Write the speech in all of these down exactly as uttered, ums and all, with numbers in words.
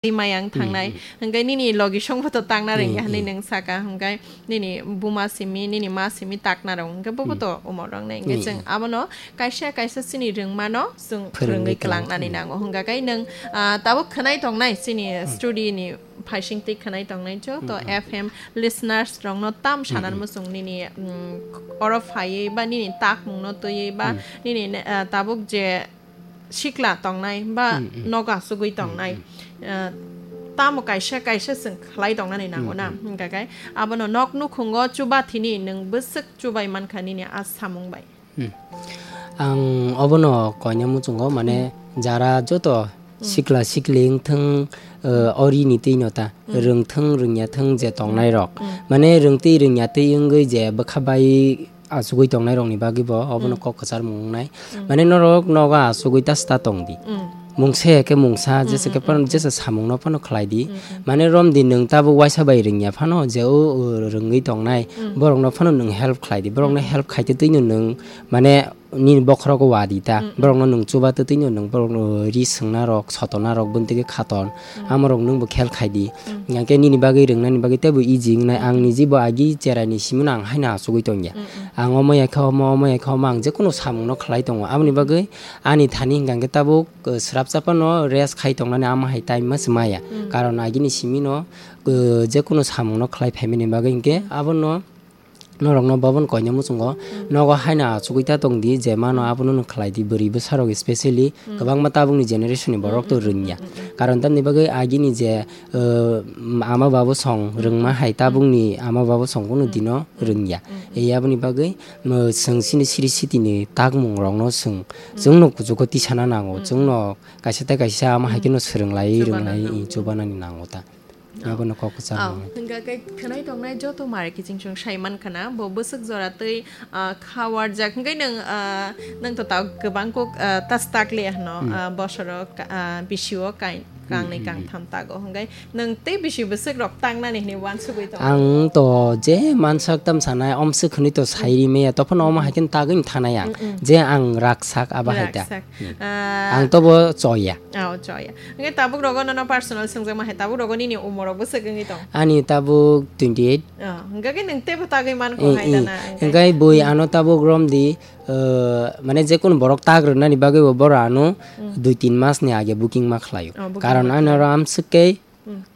Twi mayang thangnai. Hwnkhe nini logisongbo to takna rwngya hwnwi nwng saka, hwnkhe nini buma simi, nini ma simi takna rwng, hwnkhe bobo to umor rwngnai. Hwnkhe chwng abono kaisa kaisa chini rwngmano chwng phwrwngwi kwlangnani nango. Hwnkhe kai nwng, ah, tabuk khwnai tongnai chini studio ni phaising twi khwnai tongnai joto F M listeners rokno tam sanan muchung nini, mm, oro phaiwi ba nini takmungno twiwi ba nini, ah, tabuk je sikla tongnai ba nogo asugwi tongnai, ah, tamo kaisa kaisa chwng khlai tongnani nango na, hwnkhe kai abono nok nukhungo chubathini nwng bwswk chubai mankha nini a samung bai. Hmm. Ang obono koina muchungo, mane, jara joto sikla sikli wngthwng, ah, ori ni twi no ta, rwngthwng rwngya thwng je tongnai rok, mane, rwngtwi rwngya twi wngwi je bwkha bai achugwi tongnai rokni bagwi bo obono kok kwcharmung wngnai. Mane norok nogo achugwi ta sta tong di. Mungsa ya khe mungsa, jesa khe phano, jesa samungno phano khlai di. Mane romdi nwng tabuk waisa bai rwngya phano je o, o rwngwi tongnai, borokno phano nwng help khlai di. Borokno help khaite twino nwng mane nini bokhorogo wadi ta. Borokno nwng chuba twtwino nwng borokno ri swngna rok, sotona rok, buntwgwi khaton. Amorok nwngbo khel khai di. Hwnkhe nini bagwi rwngnani bagwi teibo easy wngnai. Ang niji bo agi cheraini simino ang haino achugwi tongya. Ang omo ya khe omo, omo ya khe omo, ang jekunu samungno khlai tongo. Aboni bagwi ani thani hwnkha hwnkhe tabuk, uh, swrapsa phano rest khai tongnani ama hai time ma se maya. Karon agini simino, uh, jekunu samungno khlai phaimani bagwi hwnkhe abono norokno bobono koina muchungo nogo haino achugwi ta tong di, je mano abono no khlai di. Bwrwi bwsarok specially kwbangma tabukni generation ni borok to rwngya. Karon tamni bagwi agini je, uh, ama babu song rwngma hai tabukni ama babu song kunu dino rwngya. Ei aboni bagwi, uh, chwng chini siri sitini takmung rokno chwng, chwngno kuchugo tisana nango, chwngno kaisa tei kaisa ama hai kheno swrwng lai, rwng lai, chubanani nango ta. Abono kok kwchang. Hwnkha khe khwnai tongnai joto mare kiching chwng sai mankha na, bo bwswk jora twi, ah, kha warjak. Hwnkhe nwng, ah, nwng to ta kwbang kok, ah, tas tak le hwno, ah, bosoro ka-, ah, bisio kai-, kangnwi kangtham tago. Hwnkhe nwng tei bisi bwswk rok tangnani hwnwi uansugwi tongo? Ang to je mansak tam sanai, omswk hwnwi to sai ri maya, tophano omo hai khe tagwi thanai ang. Je ang raksak abo hai ta. Raksak. Ah, ang to bo choya. Oh, choya. Hwnkhe tabuk rogo nono personal swngjakma hai, tabuk rogo nini umor rok bwswk wngwi tong? Ani tabuk twenty eight. Oh, hwnkhe khe nwng teibo tagwi mankho hai dana, hwnkhe? Hwnkhe bui ano tabuk romdi, uh, mane jekunu borok tag rwnani bagwi bo borok ano dui tin mas ni age booking ma khlaio. Oh, booking ma khlaio. Karon ani oro amswk khe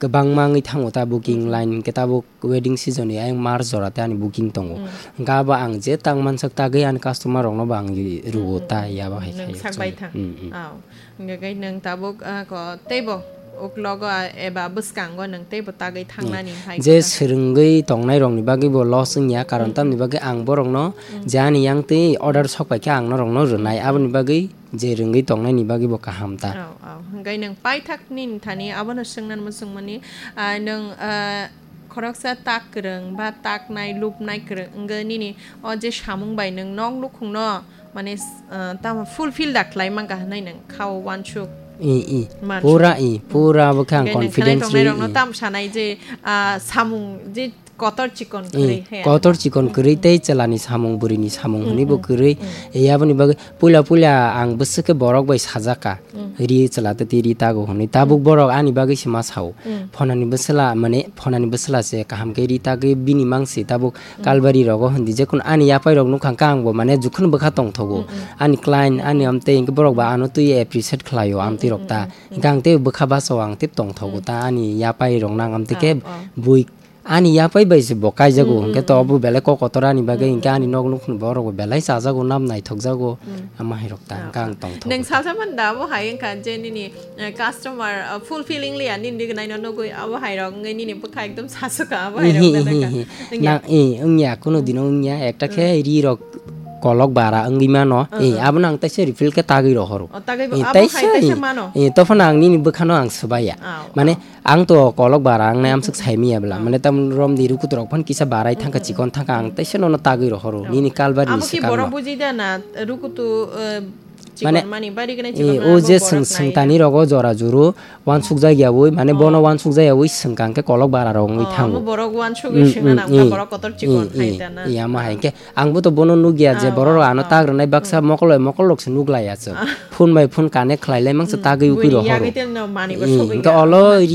kwbangma wngwi thango ta booking line, hwnkhe tabuk wedding season ni ayang March jora tei ani booking tongo. Hwnkhe abo ang je tang mansak tagwi ani customer rokno bo ang rwo ta, yabo hai khaio. Nwng sak bai thang. Oh. Hwnkhe khe nwng tabuk, ah, ko teibo uklogo, ah, eba bwskango nwng teibo tagwi thangnani hai je kwtal swrwngwi tongnai rokni bagwi bo loss wngya, karon tamni bagwi ang borokno je ani yang twi order sok pai khe ang norokno rwnai, aboni bagwi je rwngwi tongnaini bagwi bo kaham ta. Oh, oh. Hwnkhe nwng paithak nini thani abono swngna muchungmani, ah, nwng, ah, khoroksa tak kwrwng ba taknai lubnai kwrwng wngwi nini o je samung bai nwng nok nukhungno mane, ah, tamo fulfill da khlai mankha hwnwi nwng khao uansuk. I, i. Pura i, pura bo khe ang confidence ri. Hwnkhe nwng khwnai tongnai rokno tam sanai je, ah, samung je kotor chikon kwrwi he. Kotor chikon kwrwi tei chwlani samung, bwrwini samung hwnwi bo kwrwi. Ei aboni bagwi puila puila ang bwswk khe borok bai sajak kha. Ri chwla tei ri tago hwnwi. Tabuk borok ani bagwi se ma sao. Phonani bwswla, mane phonani bwswla se kaham khe ri tagwi bini mang se tabuk kalbari rogo hwndi jekun ani yapai rok nukha khe ang bo mane jukhun bwkha tongthogo. Ani client, ani amtwi hwnkhe borok ba ano twi appreciate khlaio amtwi rok ta. Hwnkhe ang tei bwkha bachao ang tei tongthogo ta ani yapai rok nang amtwi khe bui Ani yapai bai se bo kaijago, hwnkhe to obo belai kok kotor ani bagwi, hwnkhe ani nok nukhung borok bo belai chajago, nam naithokjago, ama hai rok ta, hwnkhe ang tongthogo. Nwng salsa man da abo hai wngkha je nini, eh, customer, eh, fulfilling liya nini dignaino nugwi abo hai rok wngwi nini bwkha ekdom sasukha abo hai rok belai kha. Wngya? Na, eh, wngya, kunu dino wngya, ekta khe ri rok kolok bara wngwi mano, eh, abono ang taisa refill khe tagwi rohoro. O, tagwi bo, eh, abo hai taisa, taisa eh, mano? Eh, tophano ang nini bwkhano ang swbaiya. Mane, ang to kolok bara wngnai amswk saimiya bwla. Mane tam romdi rukutu rok phan kisa barai thangkha, chikon thangkha, ang teisa nono tagwi rohoro. Nini kalbari ni swkang no. Abo khe borok buji da na rukutu, eh, chikon mani, bari gwnai chikon mani, o je borok swng, swngtani rogo jora juru wansuk jak yawi, mane bono wansuk jak yawi swngkang khe kolok bara rok wngwi thango. Amo borok wansugwi swngna nang kha, borok kotor chikon hai da na. Iya, ma hai khe. Ang bo to bono nukya je borok rok ano tag rwnai baksa mokol bai mokol rok se nuklai aswk. Phone bai phone connect khlai lai mangsa tagwi ukui rohoro. Buini yagwi tei no mani bo sogwi ya. Hwnkhe olo ri